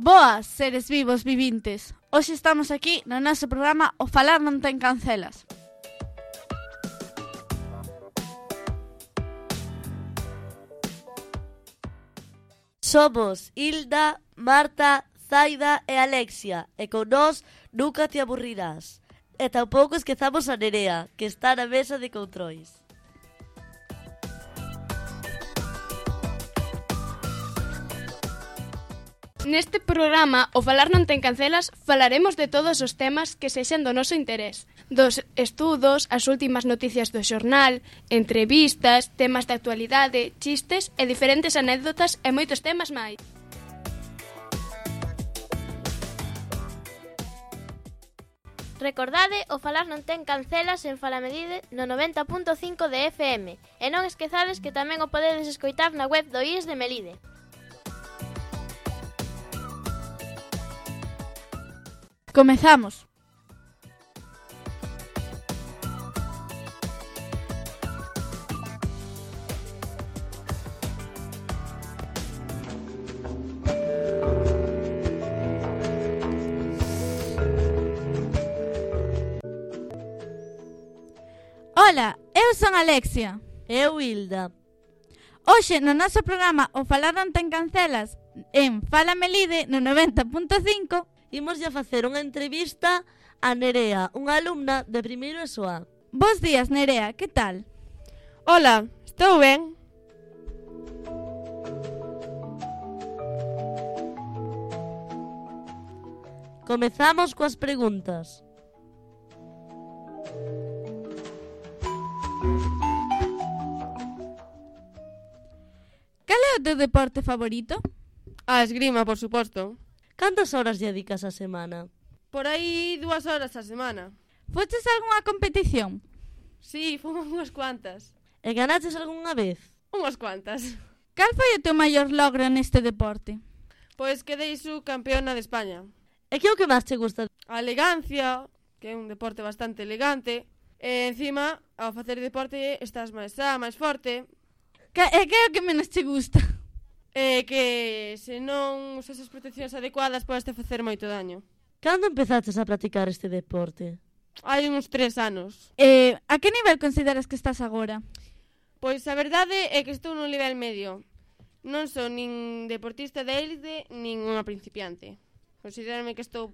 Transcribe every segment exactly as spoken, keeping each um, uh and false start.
Boas, seres vivos vivintes. Hoxe estamos aquí no noso programa O Falar non ten cancelas. Somos Hilda, Marta, Zaida e Alexia, e con nós nunca te aburrirás. E tampouco esquezamos a Nerea, que está na mesa de controis. Neste programa, O Falar non ten cancelas, falaremos de todos os temas que sexan do noso interés. Dos estudos, as últimas noticias do xornal, entrevistas, temas de actualidade, chistes e diferentes anécdotas e moitos temas máis. Recordade, O Falar non ten cancelas en Falamedide no noventa punto cinco de F M e non esquezades que tamén o podedes escoitar na web do I E S de Melide. Comezamos. Ola, eu son Alexia. Eu, Hilda. Hoxe no noso programa O Falar non ten cancelas en Fala Melide no noventa punto cinco Imos a facer unha entrevista a Nerea, unha alumna de primeiro E S O A. Bos días, Nerea, que tal? Ola, estou ben? Comezamos coas preguntas. Cal é o teu deporte favorito? A esgrima, por suposto. Cantas horas dedicas a semana? Por aí dúas horas a semana. Foches a algunha competición? Sí, fomos unhas cuantas. E ganaches algunha vez? Unhas cuantas. Cal foi o teu maior logro neste deporte? Pois quedei subcampeona de España. E que é o que máis te gusta? A elegancia, que é un deporte bastante elegante. E encima, ao facer deporte, estás máis sá, máis forte. Que, e que é o que menos te gusta? E que se non usas as proteccións adecuadas podes te facer moito daño. Cando empezaches a practicar este deporte? Hai uns tres anos. Eh, a que nivel consideras que estás agora? Pois a verdade é que estou no nivel medio. Non son nin deportista de élite, nin unha principiante. Considérame que estou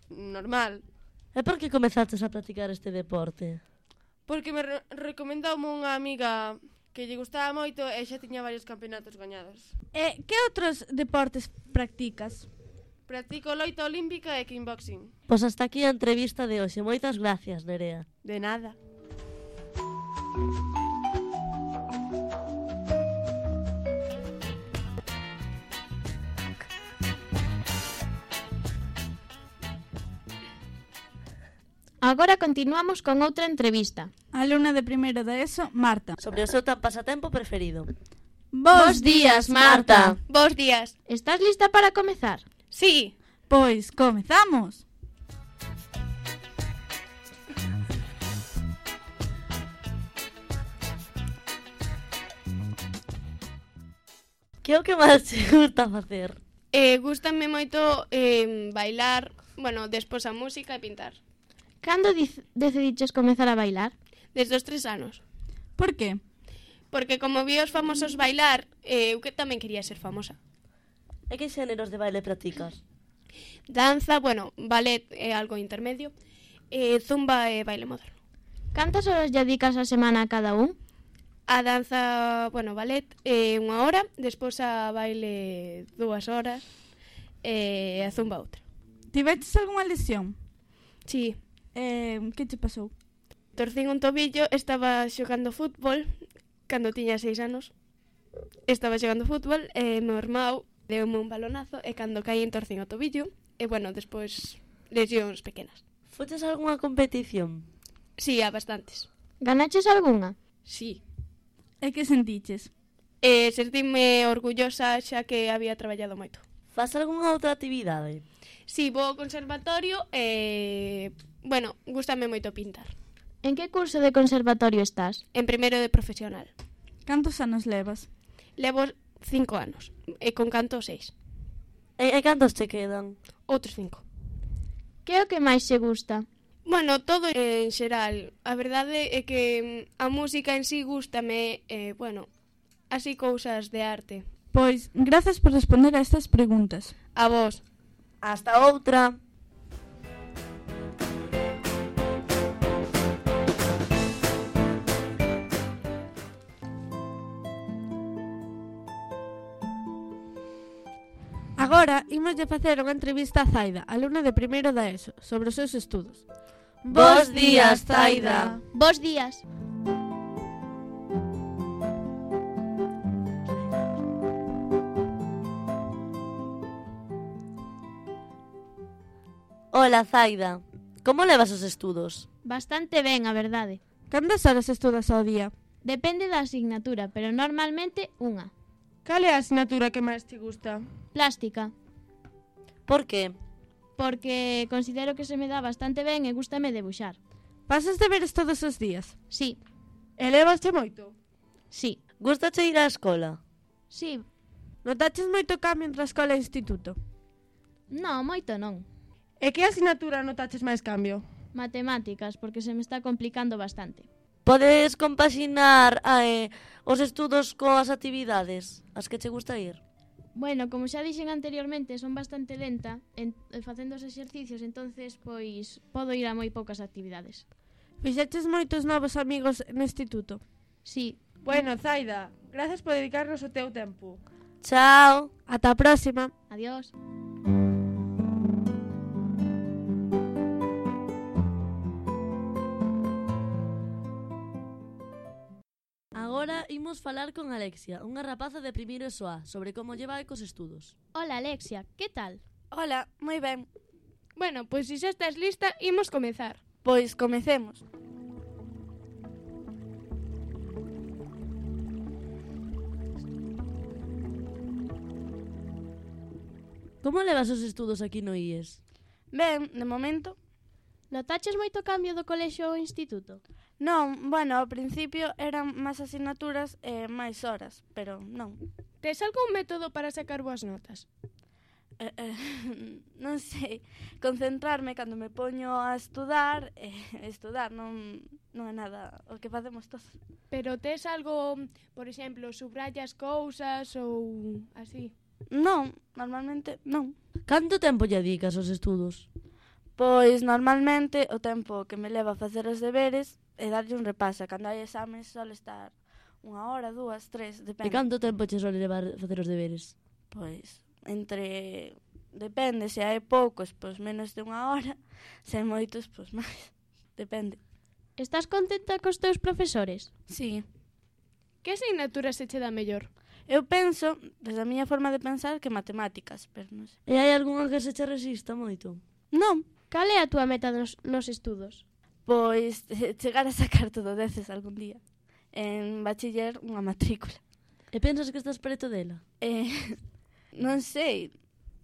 normal. E por que comezaches a practicar este deporte? Porque me re- recomendoume unha amiga que lle gustaba moito e xa tiña varios campeonatos gañados. E que outros deportes practicas? Practico loita olímpica e kickboxing. Pois hasta aquí a entrevista de hoxe. Moitas gracias, Nerea. De nada. Agora continuamos con outra entrevista. Alumna de primeiro de E S O, Marta. Sobre o seu tan pasatempo preferido. Bos días, Marta. Bos días. Estás lista para comezar? Sí. Pois, comezamos. Que é o que máis te gusta facer? Eh, gústame moito eh, bailar, bueno, despois a música e pintar. Cando dic- decidiches comezar a bailar? Desde os tres anos. Por que? Porque como vi os famosos bailar, eh, eu que tamén quería ser famosa. E que xéneros de baile practicas? Danza, bueno, ballet é algo intermedio, eh, zumba e baile moderno. Cantas horas dedicas a semana a cada un? A danza, bueno, ballet é unha hora, despois a baile dúas horas e a zumba outra. Tiveches algunha lesión? Sí, Eh, que te pasou? torcín un tobillo, estaba xogando fútbol cando tiña seis anos. Estaba xogando fútbol e meu irmão deume un balonazo e cando caí torcín o tobillo e, bueno, despois lesións pequenas. Foches a algunha competición? Sí, a bastantes. Ganaches algunha? Sí. E que sentiches? E sentime orgullosa xa que había traballado moito. Faz algunha outra actividade? Sí, vou ao conservatorio e, bueno, gústame moito pintar. En que curso de conservatorio estás? En primeiro de profesional. Cantos anos levas? Levo cinco anos e con canto seis. E, e cantos te quedan? Outros cinco. Que é o que máis che gusta? Bueno, todo en xeral. A verdade é que mm, a música en sí gústame, eh, bueno, así cousas de arte. Pois, grazas por responder a estas preguntas. A vos. Hasta outra. Agora, imoslle facer unha entrevista a Zaida, alumna de primeiro da ESO, sobre os seus estudos. Bos días, Zaida. Bos días. Hola, Zaida. Como levas os estudos? Bastante ben, a verdade. Cantas horas estudas ao día? Depende da asignatura, pero normalmente unha. Cal é a asignatura que máis te gusta? Plástica, Por que? porque considero que se me dá bastante ben e gústame debuxar. Pasas deberes todos os días? Sí, E levaste moito? sí, Gústache ir á escola? sí. Notaches moito cambio entre a escola e o instituto? Non, moito non. E que asignatura notaches máis cambio? Matemáticas, porque se me está complicando bastante. Podes compaxinar eh, os estudos coas actividades as que che gusta ir? Bueno, como xa dixen anteriormente, son bastante lenta en, en facendo os exercicios, entonces pois podo ir a moi poucas actividades. Fixeches moitos novos amigos no instituto? Sí, Bueno, Zaida, gracias por dedicarnos o teu tempo. Chao. Ata a próxima. adiós. Agora imos falar con Alexia, unha rapaza de primeiro E S O A, sobre como lle vai cos estudos. Hola, Alexia, que tal? Hola, moi ben. Bueno, pois se xa estás lista, imos comezar. Pois comecemos. Como levas os estudos aquí no I E S? Ben, de momento. Notaches moito cambio do colexio ao instituto? Non, bueno, ao principio eran máis asignaturas e máis horas, pero non. Tes algún método para sacar boas notas? Eh, eh, non sei, concentrarme cando me poño a estudar, eh, estudar non, non é nada o que facemos todos. Pero tes algo, por exemplo, subrayas cousas ou así? Non, normalmente non. Canto tempo lle dedicas aos estudos? Pois normalmente o tempo que me leva a facer os deberes é darlle un repaso. Cando hai exames sole estar unha hora, dúas, tres, E depende. canto tempo che sole levar facer os deberes? Pois entre... Depende, se hai poucos, pois menos de unha hora. Se hai moitos, pois máis. Depende. Estás contenta cos teus profesores? Sí. Que asignatura se che dá mellor? Eu penso, desde a miña forma de pensar, que matemáticas, pero non sei. E hai algunha que se che resista moito? Non, Cal é a túa meta nos, nos estudos? pois eh, chegar a sacar todo deces algún día. En bachiller, unha matrícula. E pensas que estás preto dela? Eh, non sei,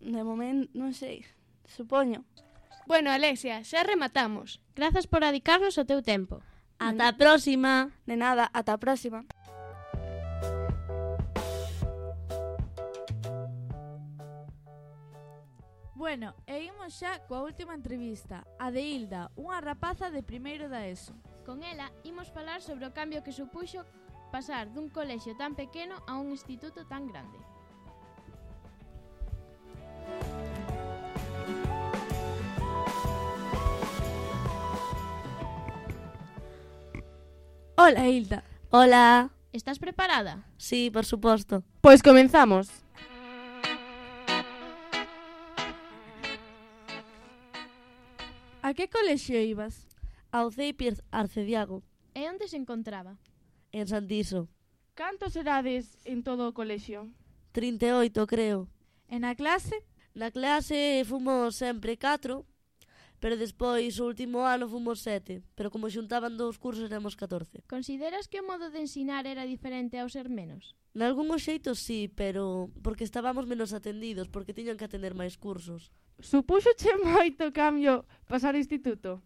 de momento, non sei, supoño. Bueno, Alexia, xa rematamos. Grazas por dedicarnos o teu tempo. Ata a próxima. De nada, ata a próxima. Bueno, e imos xa coa última entrevista, a de Hilda, unha rapaza de primeiro da ESO. Con ela imos falar sobre o cambio que supuxo pasar dun colexio tan pequeno a un instituto tan grande. Hola, Hilda. Hola. Estás preparada? Sí, por suposto. Pois comenzamos. A que colexio ibas? Ao Ceipi Arcediago, E onde se encontraba? en Santiso. Cantos erades en todo o colexio? trinta e oito, creo. E na clase? Na clase fomos sempre catro, pero despois o último ano fomos sete, pero como xuntaban dous cursos éramos catorce. Consideras que o modo de ensinar era diferente ao ser menos? Nalgúns xeitos sí, pero porque estábamos menos atendidos, porque tiñan que atender máis cursos. Supúxoche moito cambio pasar ao instituto?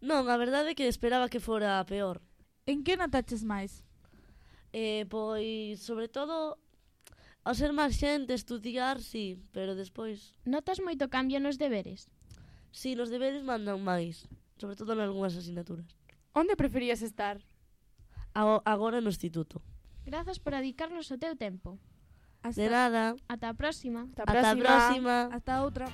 Non, a verdade é que esperaba que fora peor. En que notaches máis? Eh, pois, sobre todo, Ao ser máis xente, estudiar, sí, pero despois... Notas moito cambio nos deberes? Sí, nos deberes mandan máis, sobre todo en algunhas asignaturas. Onde preferías estar? A- agora no instituto. Grazas por dedicarnos o teu tempo. De nada. Ata a próxima. Ata a Ata a próxima. próxima. Hasta outra.